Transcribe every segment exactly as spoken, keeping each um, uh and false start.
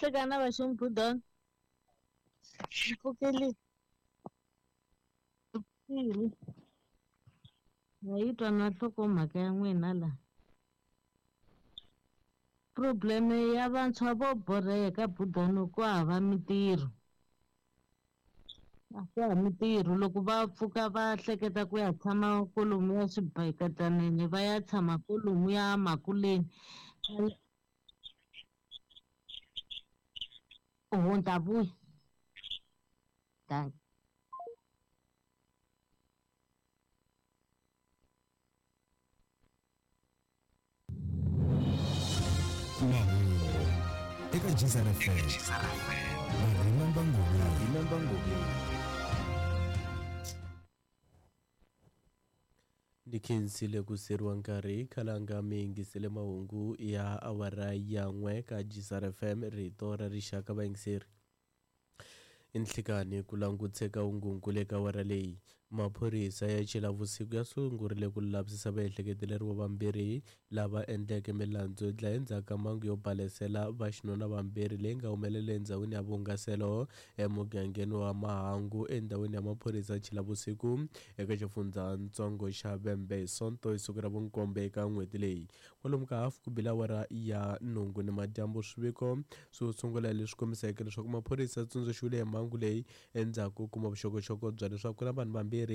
Nhlekani va Ximbudana. Mpfukeli na yi twa na nhlokomhaka ya n'wina la. Problem ya vantshwa vo borheka Budano ku hava mintirho. A ku hava mintirho loko va pfuka va hleketa ku ya tshama kolomuya swibakatanini va ya tshama kolomuya makuleni. Oho ni ta vuya. Dankie. Mahungu eka Jizara F M. Na Remember Ngobeni. Remember Ngobeni. Ni khensile ku seriwa nkarhi khalanga mi yingisele mahungu ya awara ya n'we ka Jizara F M rito ra rixaka vayingiseri. Nhlikani ku languteka ungunkulu eka awara leyi maphorisa ya Chilavusiku ya sungurile ku lavisisa vaehleketeleriwa vambirhi lava endleke milandzu yo dlaya endzhaku ka mhangu yo balesela vaxinuna vambirhi leyi nga humelela endhawini ya vuhungaselo emugangeni wa Mahangu endhawini ya maphorisa ya Chilavusiku eka xifundzatsongo xa Vhembe hi Sonto hi siku ra vunkombe eka n'hweti leyi. Kwalomu ka hafu ku bile awara ya nhungu ni madyambu swiviko swo sungula leswi kombiseke leswaku maphorisa ya tsundzuxiwile hi mhangu leyi endzhaku ko kuma vuxokoxoko bya leswaku ku na vanhu vambirhi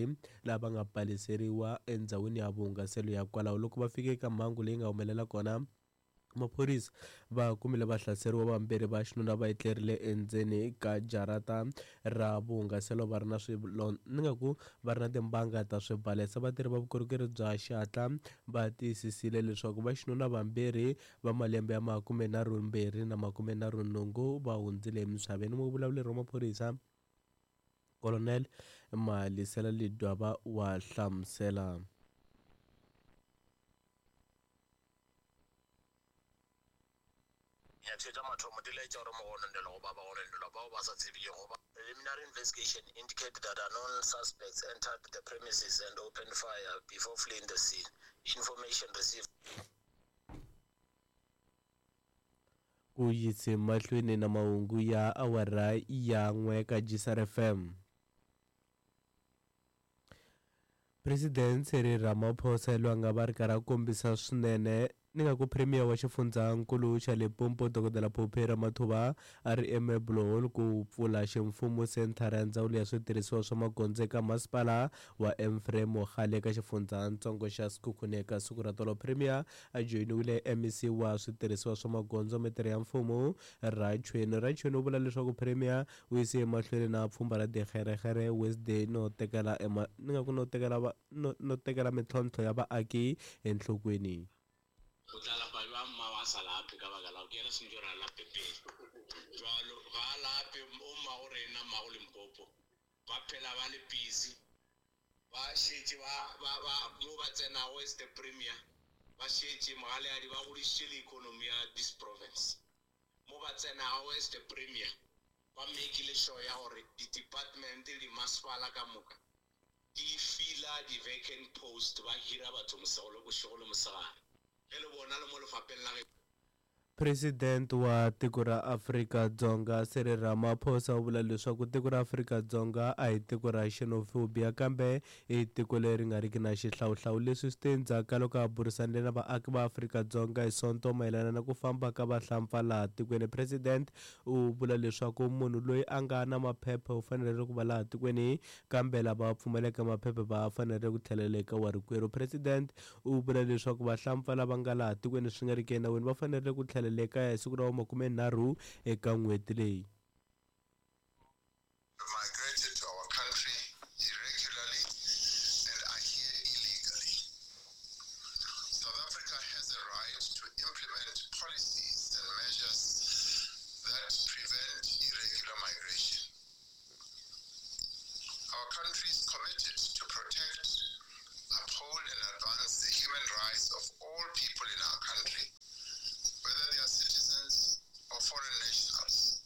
lava nga baleseriwa endhawini ya vuhungaselo ya kwalaho. Loko va fika eka mhangu leyi nga humelela kona maphorisa va kumile vahlaseriwa vambirhi va xinuna va etlerile endzeni ka jarata ra vuhungaselo va ri na swilo ni nga ku va ri na timbanga ta swibalesa. Vatirhi va vukorhokeri bya xihatla va tiyisisile leswaku va xinuna vambirhi va malembe ya makumenharhu mbirhi na makumenharhu nhungu va hundzile emisaveni. Muvulavuleri wa maphorisa Colonel Malisela Lidwaba wa hlamusela. Preliminary investigation indicated that unknown suspects entered the premises and opened fire before fleeing the scene. Information received. Ku yise mahlweni na mahungu ya awara ya n'we ka Jizara F M. President Cyril Ramaphosa loyi a nga va ri karhi a kombisa swinene ni nga ku Premier wa xifundzankulu xa Limpopo Dokodela Phophi Ramathuba a ri eMarble Hall ku pfula ximfumo senthara ya ndzawulo ya switirhisiwa swa magondzo eka masipala wa Mfrey Mogale eka xifundzatsongo xa Sekhukhune eka siku ra tolo. Premier a joyiniwile M E C wa switirhisiwa swa magondzo mitirho ya mfumo Rachweni. Rachweni u vula leswaku Premier u yise emahlweni na pfhumba ra Dikgerekgere Wednesday no tekela ema ni nga ku no tekela va no, no tekela mintlhontlho ya vaaki enhlokweni. O tla lapa jwang mma wa sa lape ka baka la ke yena sentse re a lape pele. Jwalo ga a lape o mmago rena mmago Limpopo ba phela ba le busy ba šetše ba ba ba mo ba tsenago as the premier ba šetše mogaleadi ba godišitše le economy ya this province. Mo ba tsenago as the premier ba makile sure ya gore di-department le dimasepala ka moka di fila di-vacant post ba hira batho mosego le bošego le mosegare. President wa tiko ra Afrika-Dzonga Cyril Ramaphosa u vula leswaku tiko ra Afrika-Dzonga a hi tiko ra xenophobia kambe i tiko leri nga riki na xihlawuhlawu. Leswi swi te endzhaku ka loko a burisanile na vaaki va Afrika-Dzonga hi Sonto mayelana na ku famba ka vahlampfa laha tikweni. President u vula leswaku munhu loyi a nga na maphepha u fanele ku va laha tikweni kambe lava pfumaleke maphepha va fanele ku tlhelela eka warikwerhu. President u vula leswaku vahlampfa lava nga laha tikweni swi nga riki enawini va fanele ku tlhelela eka siku ra makumenharhu eka n'hweti leyi. Migrated to our country irregularly and are here illegally. South Africa has a right to implement policies and measures that prevent irregular migration. Our country is committed to protect, uphold and advance the human rights of all people in our country, whether they are citizens or foreign nationals.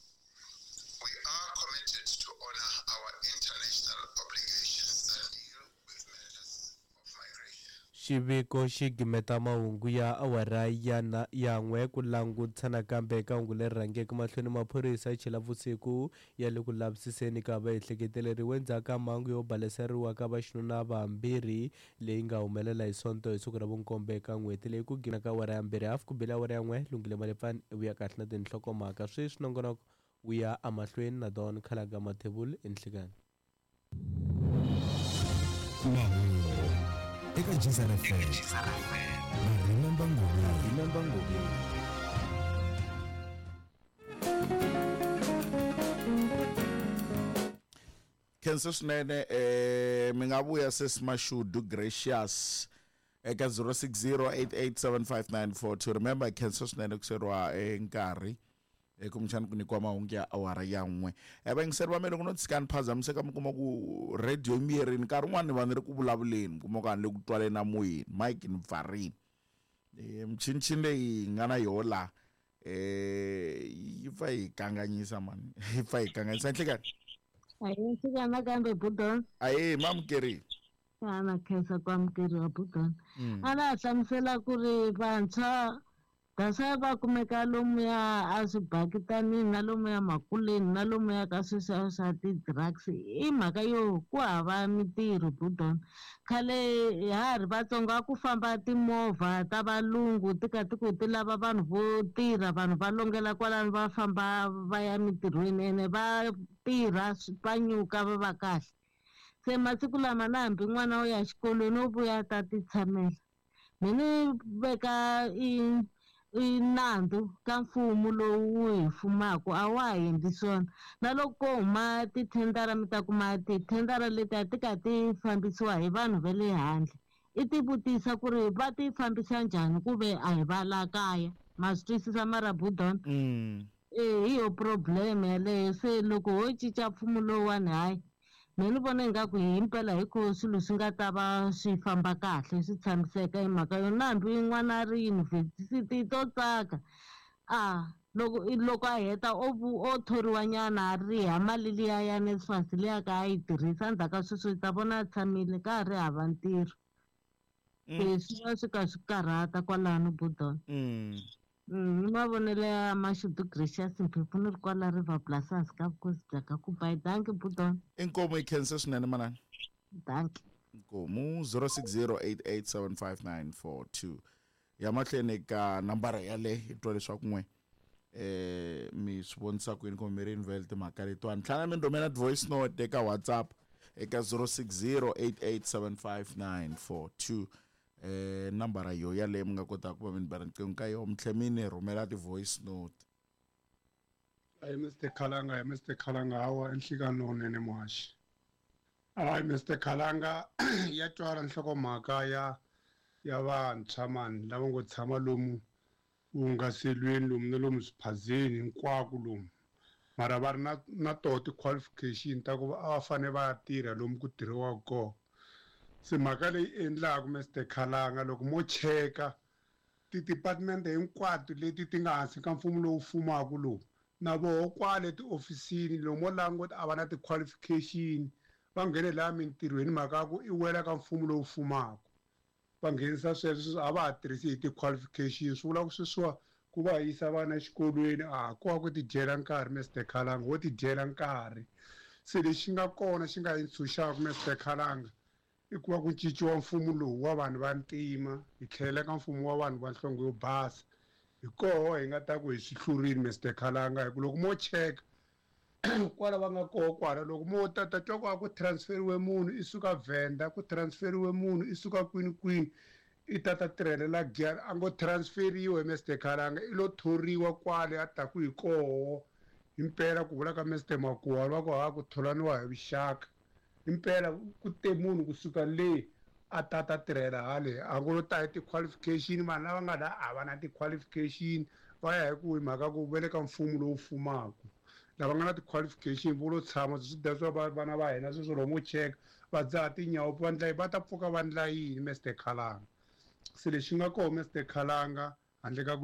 We are committed to honor our international obligations that deal with matters of migration. Xiviko xi gimeta mahungu ya awara ya na ya n'we ku langutisa nakambe eka hungu leri rhangeke mahlweni. Maphorisa ya chela vusiku ya le ku lavisiseni ka vaehleketeleriwa endzhaku ka mhangu yo baleseriwa ka vaxinuna vambirhi leyi nga humelela hi Sonto hi siku ra vunkombo eka n'hweti leyi. Ku gina ka awara ya mbirhi hafu ku bile awara ya n'we. Lunghile Malefani i vuya kahle na tinhlokomhaka sweswi. Nongonoko wu ya emahlweni na Don Khalaga Mathebula enhlikani. Mahungu eka Geyser F M na Remember Ngobeni. Remember Ngobeni. Khensa swinene eh mi nga vuya sis Mashudu Gracious eka zero six zero eight eight seven five nine four two. Remember khensa swinene ku seriwa nkarhi kumbexana ku nyikiwa mahungu ya awara ya n'we. Vayingiseri va mina ku no tshika ni phazamiseka mi kuma ku radio miyerini nkarhi wun'wani ni va ni ri ku vulavuleni mi kuma ku a ni le ku twaleni amoyeni mike ni pfarini. Michinichini leyi hi nga na yoho laha yi pfa yi kanganyisa mani yi pfa yi kanganyisa. Nhlekani ayi fika nakambe Budon. Ayi mamukerini. Ana khensa ku amukeriwa Budon. A na ha hlamusela ku ri vantshwa Daswa va kumeka lomuya a swibakitanini na lomuya makuleni na lomuya ka sweswiya swa ti-drugs i mhaka yo ku hava mintirho Budon. Khale ha ha ri vatsongo a ku famba timovha ta valungu ti ka ti ku ti lava vanhu vo tirha, vanhu va longela kwalano va famba va ya mintirhweni ene va tirha va nyuka va va kahle. Se masiku lama na hambi n'wana wo ya xikolweni wo vuya ta ti tshamela. Mina ni veka i i nandzu ka mfumo lowu wu hi fumaka a wa ha endli swona. Na loko ko huma tithendara mi ta kuma tithendara leti a ti ka ti fambisiwa hi vanhu va le handle. I ti vutisa ku ri va ti fambisa njhani ku ve a hi va la kaya. Ma swi twisisa mara Budon? E hi yo problem yaleyo. Se loko ho cinca mfumo lowuwani hayi mina ni vona ingaku himpela hi ku swilo swi nga ta va swi famba kahle swi tshamiseka hi mhaka yo na hambi n'wana a ri yunivhesiti to tsaka a loko loko a heta o o thoriwa nyana a riha mali liya ya NSFAS liya ka a yi tirhisa endzhaku ka sweswo i ta vona a tshamile ka ha ri hava ntirho. Se swi va swi ka swi karhata kwalano Budon. Ni mavonelo ya Mashudu Gracious Mphephu ni ri kwala River Plus hansi ka vukosi bya ka Kubai. Dankie Budon. Inkomu yi khensa swinene manana. Dankie. Inkomu zero six zero eight eight seven five nine four two. Ya mahlweni ka nambara yale hi twa leswaku n'we eh mi swi vonisa ku yini kumbe mi ri invele timhaka letiwani. Tlhela mi rhumela voice note eka WhatsApp eka zero six zero eight eight seven five nine four two. Eh nambara yo yaleyo mi nga kotaka ku va mi ni bela riqingho ka yona mi tlhela mi ni rhumela ti-voice note. Hayi Mister Khalanga, hi Mister Khalanga hawa enhlikani lowunene muhaxi. Hayi Mister Khalanga ya twala nhlokomhaka ya ya vantshwa mani lava ngo tshama lomu vuhungaselweni lomu na lomu swiphazeni hinkwako lomu mara va ri na na toho ti-qualification ta ku a va fanele va ya tirha lomu ku tirhiwaka kona. Se mhaka leyi endlaku Mister Khalanga loko mo cheka ti-department hinkwato leti ti nga hansi ka mfumo lowu fumaka lowu na voho kwale tiofisini lomu mo languta a va na ti-qualification va nghene laha mintirhweni mhaka ya ku i wela ka mfumo lowu fumaka va nghenisa sweswo a va ha tirhisi hi ti-qualification swi vula ku sweswiwa ku va yisa vana exikolweni a ko va ku tidyela nkarhi Mister Khalanga wo tidyela nkarhi. Se lexi nga kona xi nga yi ntshunxaka Mister Khalanga i ku va ku cinciwa mfumo lowu wa vanhu va ntima hi tlhelela ka mfumo wa vanhu va nhlonge yo basa hi koho hi nga ta ku hi swi hlurile Mister Khalanga hi ku loko mo cheka kwala va nga koho kwala loko mo tata twa ku a ku transferiwe munhu i suka Venda ku transferiwe munhu i suka kwini kwini i tata tirhelela Giyani a ngo transferiwe Mister Khalanga i lo thoriwa kwale a ta ku hi koho himpela ku vula ka Mister Makuwa va ku ha ku tholaniwa hi vuxaka himpela ku te munhu kusuka le a tata tirhela hale a ngo lo ta hi ti-qualification vanhu lava nga la a va na ti-qualification va ya hi ku hi mhaka ku ve le ka mfumo lowu fumaka lava nga na ti-qualification vo lo tshama swi dya swa vana va hina sweswo loko mo cheka va dzaha tinyawo va ndla va ta pfuka va ndla yini Mister Khalanga. Se lexi nga koho Mister Khalanga handle ka ku